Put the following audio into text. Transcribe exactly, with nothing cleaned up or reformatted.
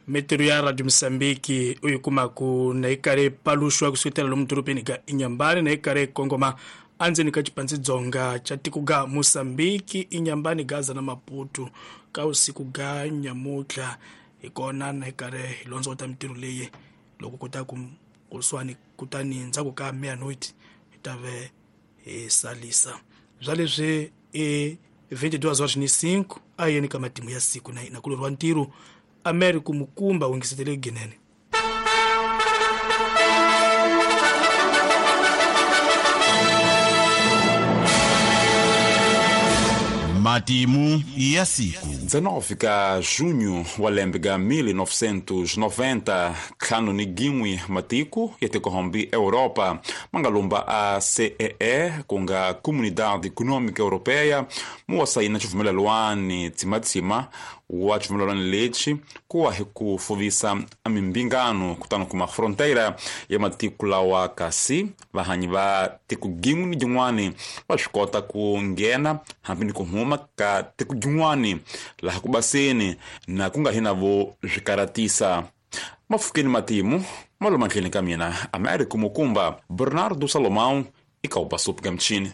Mitirho ya Radio Mozambique u yi kumaku na yi karhi paluxwa kusuketela lomu dorobeni ka Inhambane na yi karhi kongoma andzeni ka xipandzidzonga xa tiko ga Mozambique, Inhambane, Gaza na Maputo ka usiku ga nyamutlha. Hi kona na hi karhi hi londzota mitirho leyi loko kota ku kusuhani kutani ndzhaku ka meia-noite hi ta ve hi salisa bya leswi i vinte e duas horas ni cinco a yeni ka matimu ya siku na hina kulorwa ntirho Américo Mukumba wingisetele ginene. Matimu ya siku. dezenove ka junho wa lembe ga mil novecentos e noventa, ntlhanu ni gin'we matiko ya tikohombi Europa ma nga lumba a C E E, ku nga Comunidade Econômica Europeia, mu wa sayina xivumelelwani tsimatsima wa xivumelelwani lexi ku wa hi ku fuvisa a mimbingano kutani kuma fronteira ya matiko lawa, kasi vahanyi va tiko gin'we ni gin'wani va swi kota ku nghena hambi ni ku huma ka tiko gin'wani laha ku baseni na ku nga hi na vo swi karatisa. Mafukeni matimu malo matlheni ka mina Américo Mukumba Bernardo Salomão eka Ubasup Gamchini.